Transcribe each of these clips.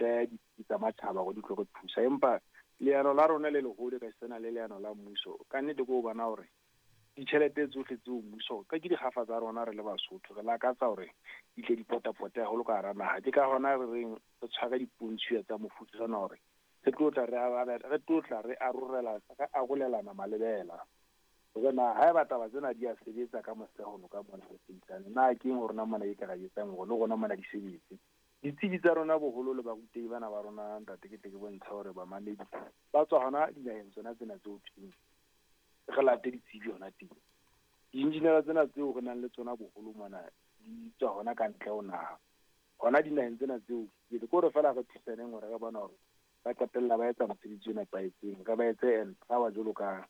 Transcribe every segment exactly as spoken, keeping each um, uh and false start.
tle ditsi tsa matjhaba hore di tlo re thusa. Empa leano la rona le leholo ka sena le leano la mmuso ka nnete ke ho bona hore ditjhelete tsohle tseo mmuso ka ke dikgafa tsa rona re le Basotho re lakatsa hore di tle di potapote haholo ka hara naha. Ke ka hona re reng re tshware dipontshuwa tsa mofuta ona hore re tlo tla re re tlo tla re arorela re arolelana malebela hore na haeba taba tsena di a sebetsa ka mosehono ka mona re sebedisane na ke eng hore na mona e ka ra etsang hore le rona mona di sebetse. Ditsebi tsa rona boholo le barutehi bana ba rona ntate ke tle ke bontsha hore bamamedi ba tswa hona dinaheng tsona tsena tseo thweng re late ditsebi hona teng. Di-engineer tsena tseo re nang le tsona boholo mona di tswa hona ka ntle ho naha hona dinaheng tsena tseo. Ke ke hore feela re thusaneng hore re bona hore ba qetella ba etsa mosebetsi o nepahetseng, re ba etse empower jwalo ka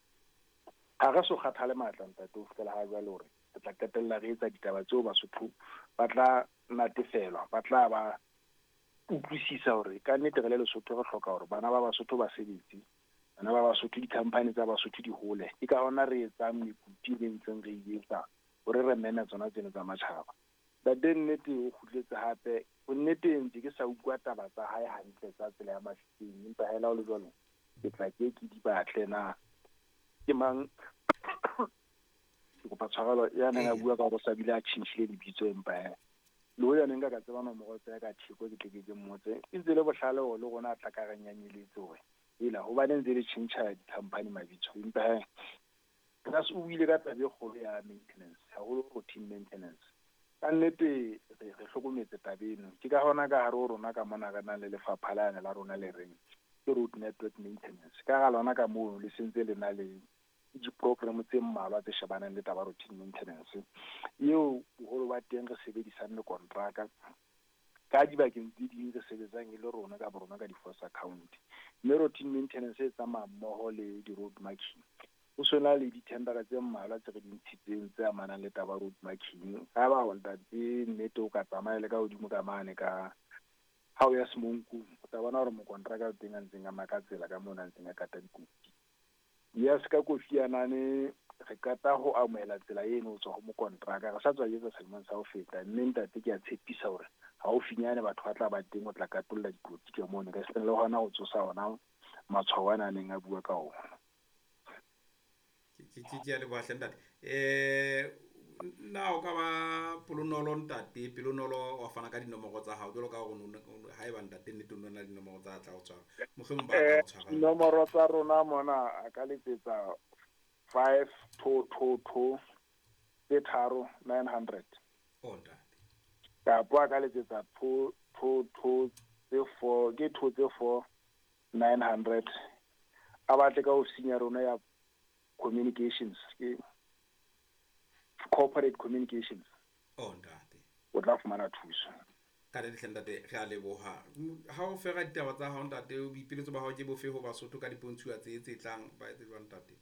ha re so kgathale matla ntate ho fihlela ha jwale hore re tla qetella re etsa ditaba tseo Basotho ba tla natefelwa, ba tla ba utlwisisa hore ka nnete re le Lesotho re hloka hore bana ba Basotho ba sebetse, bana ba Basotho di-company tsa Basotho di hole. Ke ka hona re etsang mekutu e ntseng re e etsa hore re meme tsona tseno tsa matjhaba. Ntate nnete o kgutletse hape bonnete ntse ke sa utlwa taba tsa hae hantle tsa tsela ya Mafikeng, empa hela ho le jwalo ke tla ke ke di batle na ke mang ke kopa tshwarelo ya neng a bua ka hore o sa bile a tjhentjhile lebitso, empa he le hoja ne nka ka tseba nomoro tsa ka theko ke tle ke ke mmotse e ntse le bohlale hore le rona a tla ka re nyanyeletse hore ela hobane ntse le tjhentjha di-company mabitso. Empa he plus o buile ka taba e kgolo ya maintenance, haholo routine maintenance. Ka nnete re re hlokometse taba eno. Ke ka hona ka hare ho rona ka mona re nang le lefapha lane la rona le reng ke road network maintenance. Ka hara lona ka mono le sentse le na le di-program tse mmalwa tse shebanang le taba routine maintenance eo boholo ba teng re sebedisang le kontraka ka dibakeng tse ding re sebetsang e le rona ka borona ka di-force account. Mme routine maintenance e tsamaya mmoho le di-road marking. Ho sona le di-tendera tse mmalwa tse re di ntshitseng tse amanang le taba road marking. Ha ba ho ntate nnete o ka tsamaya le ka hodimo ka mane ka ha o ya Semonkong o tla bona hore mokontraka o teng a ntseng a maka tsela ka mona a ntseng a kata dikoti. Yes, ka Kofi Anane re qeta ho amohela tsela eno ho tswa ho mokontraka re sa tswa etsa selemong sa ho feta, mme ntate ke a tshepisa hore haufinyane batho ba tla ba teng ho tla katolla dikoti ka mono ka seng le hona ho tsosa ona matshwao ana a neng a bua ka ona. Ke ke ke a leboha hle ntate. Eh na o ka ba pelonolo ntate, pelonolo wa fana ka dinomoro tsa hao jwalo ka hore haeba ntate nnete o na le dinomoro tsa tla o tshwara. Mohlomong ba tla o tshwara. Dinomoro tsa rona mona a ka letsetsa five two two two tse tharo nine hundred. Oh ntate. Kapa a ka letsetsa two two two tse four ke two tse four nine hundred. A batle ka ofising ya rona ya communications ke corporate communications. Oh ntate. O tla fumana thuso. Ka le hle ntate re a leboha. Ha o fera ditaba tsa hao ntate, boipiletso ba hao ke bofe ho Basotho ka dipontshuwa tse tse tlang ba etse jwang ntate?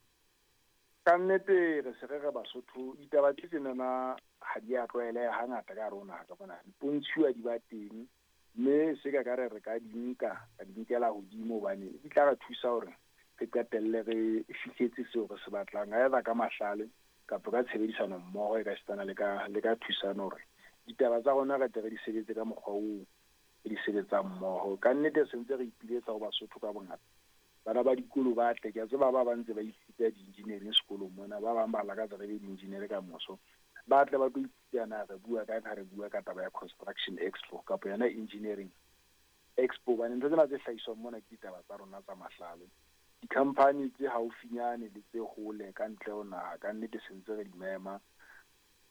Ka nnete re se re re Basotho ditaba tse tsenana ha di a tlwaeleha hangata ka rona ka bona dipontshuwa di ba teng mme se ka ka re re ka di nka ka di nkela hodimo hobane di tla re thusa hore re qetelle re fihletse seo re se batlang either ka mahlale kapa ka tshebedisano mmoho e ka sitana le ka le ka thusano hore ditaba tsa rona re tle re di sebetse ka mokgwa oo re di sebetsang mmoho. Ka nnete se ntse re ipiletsa ho Basotho ka bongata. Bana ba dikolo ba tle, ke a tseba ba ba ntse ba ithuta di-engineering sekolong mona, ba bang ba lakatsa re be di-engineer ka moso. Ba tle ba tlo ithuta na re bua ka ha re bua ka taba ya construction expo kapa yona engineering expo. Hobane ntho tsena tse hlahiswang mona ke ditaba tsa rona tsa mahlale. Di-company tse haufinyane le tse hole ka ntle ho naha ka nnete se ntse re di mema.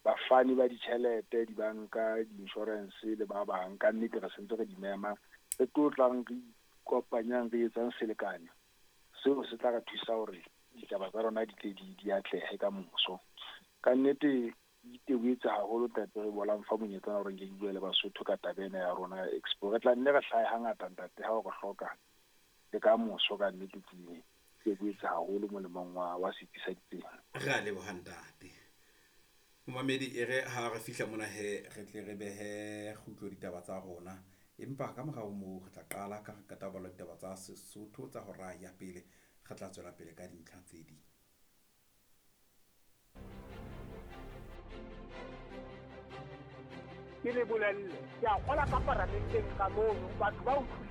Bafani ba ditjhelete, dibanka, di-insurance le ba bang ka nnete re sentse re di mema. Re tlo tlang re ikopanyang re etsang selekane seo se tla re thusa hore ditaba tsa rona di tle di di atlehe ka moso. Ka nnete iteboetse haholo ntate re bolang fa monyetla hore nke ke bue le Basotho ka taba ena ya rona ya expo. Re tla nne re hlahe hangata ntate ha o re hloka le ka moso ka nnete ke iteboetse haholo molemong wa wa setsi sa ditsela. Re a leboha ntate. Momamedi e re ha re fihla mona he re tle re behe kgutlo ditaba tsa rona, empa ka morao moo re tla qala ka re qeta ho bala ditaba tsa Sesotho tsa hora ya pele, re tla tswela pele ka dintlha tse ding. Ke le bolelle, ke a kgola ka paramenteng ka mono, batho ba utlwisisa.